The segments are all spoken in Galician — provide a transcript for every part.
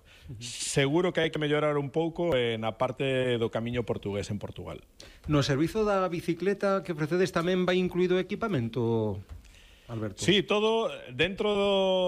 mellorado. Seguro que hai que mellorar un pouco na parte do camiño portugués en Portugal. No servizo da bicicleta que ofrecedes tamén vai incluído equipamento, Alberto? Sí, todo dentro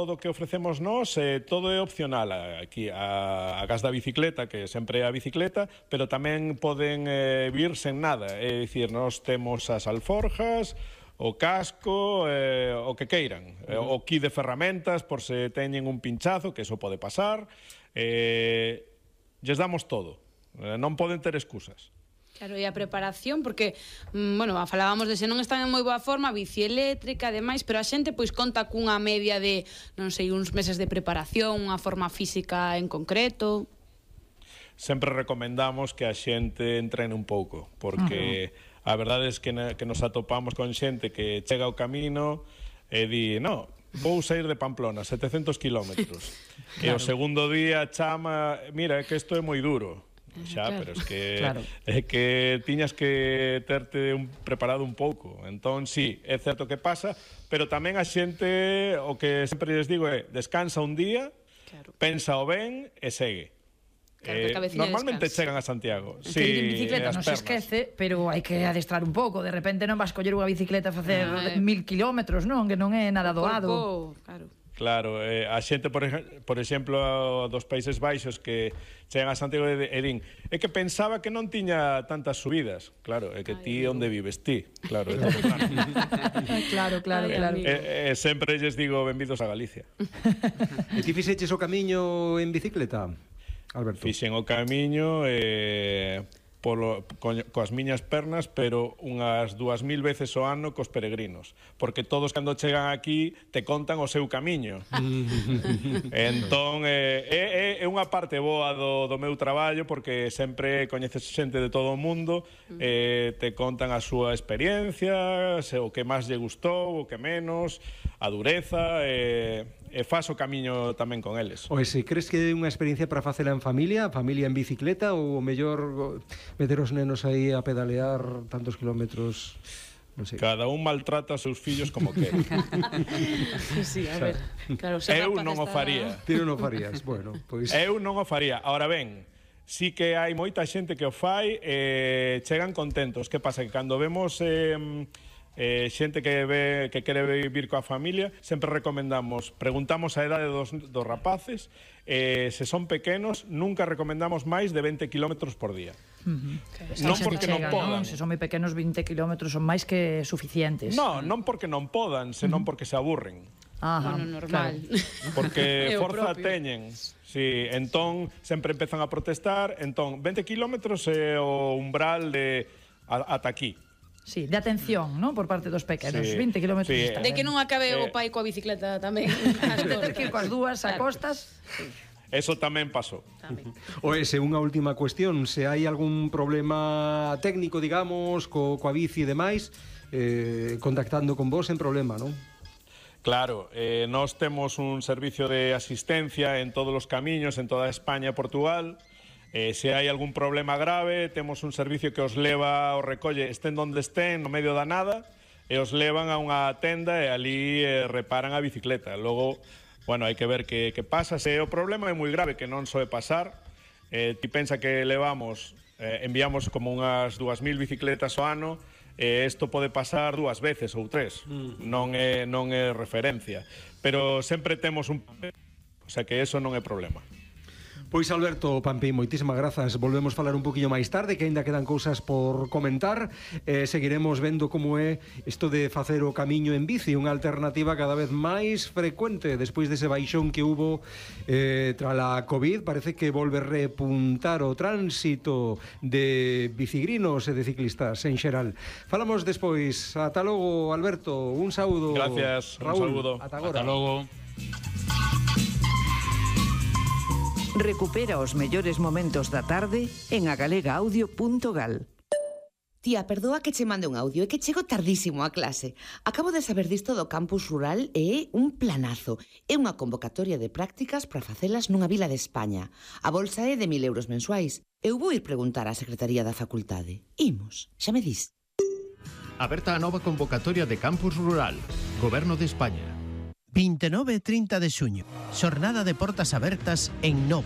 do que ofrecemos nós, todo é opcional. Aquí a gas da bicicleta, que sempre é a bicicleta, pero tamén poden vir sen nada. É dicir, nós temos as alforjas, o casco, o que queiran, o kit de ferramentas por se teñen un pinchazo, que eso pode pasar, lles damos todo, non poden ter excusas. Claro, e a preparación, porque, bueno, falábamos de se non están en moi boa forma, bici eléctrica, ademais, pero a xente pois conta cunha media de, non sei, uns meses de preparación, unha forma física en concreto. Sempre recomendamos que a xente entrene un pouco, porque a verdade é que nos atopamos con xente que chega ao camino e di, no, vou sair de Pamplona, 700 kilómetros. Claro. E o segundo día chama, mira, é que isto é moi duro. Xa, claro. Pero é que tiñas que terte preparado un pouco. Entón, sí, é certo que pasa, pero tamén a xente, o que sempre les digo é, descansa un día, claro. Pensa o ben e segue. Claro, normalmente chegan a Santiago. Sí, ir en bicicleta non se esquece, pero hai que adestrar un pouco. De repente non vas coller unha bicicleta a facer 1000 kilómetros, non? Que non é nada doado. Claro. Claro, a xente, por exemplo, dos Países Baixos que chegan a Santiago e din é que pensaba que non tiña tantas subidas. Claro, é que ti onde vives ti. Claro, é todo claro. Claro. Sempre lles digo benvidos a Galicia. E ti fixeches o camiño en bicicleta, Alberto? Fixen o camiño coas miñas pernas, pero unhas 2000 veces ao ano cos peregrinos, porque todos cando chegan aquí te contan o seu camiño. Entón é unha parte boa do meu traballo, porque sempre coñeces xente de todo o mundo, te contan a súa experiencia, o que máis lle gustou, o que menos, a dureza, e faz o camiño tamén con eles. Se crees que é unha experiencia para facela en familia en bicicleta, ou mellor meter os nenos aí a pedalear tantos kilómetros? Non sei. Cada un maltrata os seus fillos como quere. Sí, a ver. Claro, eu non o faría. Ti non o farías, bueno, pois... Eu non o faría. Ahora ben, sí que hai moita xente que o fai e chegan contentos. Que pasa? Que cando vemos xente que quere vivir coa familia, sempre recomendamos, preguntamos a edade dos rapaces, se son pequenos, nunca recomendamos máis de 20 kilómetros por día. Non porque non podan. Se son moi pequenos, 20 kilómetros son máis que suficientes. Non porque non podan, senón porque se aburren. Normal. Porque forza teñen. Sí, entón sempre empezan a protestar. Entón 20 kilómetros é o umbral de ata aquí. Sí, de atención, non? Por parte dos pequenos. 20 kilómetros está ben. De que non acabe o pai coa bicicleta tamén. De ter que ir coas dúas a costas. Eso tamén pasou. Unha última cuestión, se hai algún problema técnico, digamos, coa bici e demais, contactando con vos en problema, non? Claro, nós temos un servicio de asistencia en todos os camiños, en toda España e Portugal. Se hai algún problema grave, temos un servicio que os leva, os recolle, estén donde estén, no medio da nada, e os levan a unha tenda e ali reparan a bicicleta. Logo, bueno, hai que ver que pasa. Se o problema é moi grave, que non soe pasar, ti pensa que enviamos como unhas 2000 bicicletas ao ano, e isto pode pasar 2 veces ou 3, non é referencia. Pero sempre temos un papel, o sea que eso non é problema. Pois Alberto Pampín, moitísimas grazas. Volvemos falar un poquinho máis tarde, que aínda quedan cousas por comentar. Seguiremos vendo como é isto de facer o camiño en bici, unha alternativa cada vez máis frecuente despois dese baixón que hubo tras a COVID. Parece que volve repuntar o tránsito de bicigrinos e de ciclistas en xeral. Falamos despois. Ata logo, Alberto. Un saúdo. Gracias, Raúl. Un saúdo. Ata agora. Ata logo. Recupera os mellores momentos da tarde en agalegaaudio.gal. Tía, perdoa que che mande un audio, é que chego tardísimo a clase. Acabo de saber disto do campus rural e é un planazo. É unha convocatoria de prácticas para facelas nunha vila de España. A bolsa é de 1000 euros mensuais. Eu vou ir preguntar á Secretaría da Facultade. Imos, xa me dis. Aberta a nova convocatoria de campus rural. Goberno de España. 29 e 30 de xuño. Xornada de portas abertas en Nova.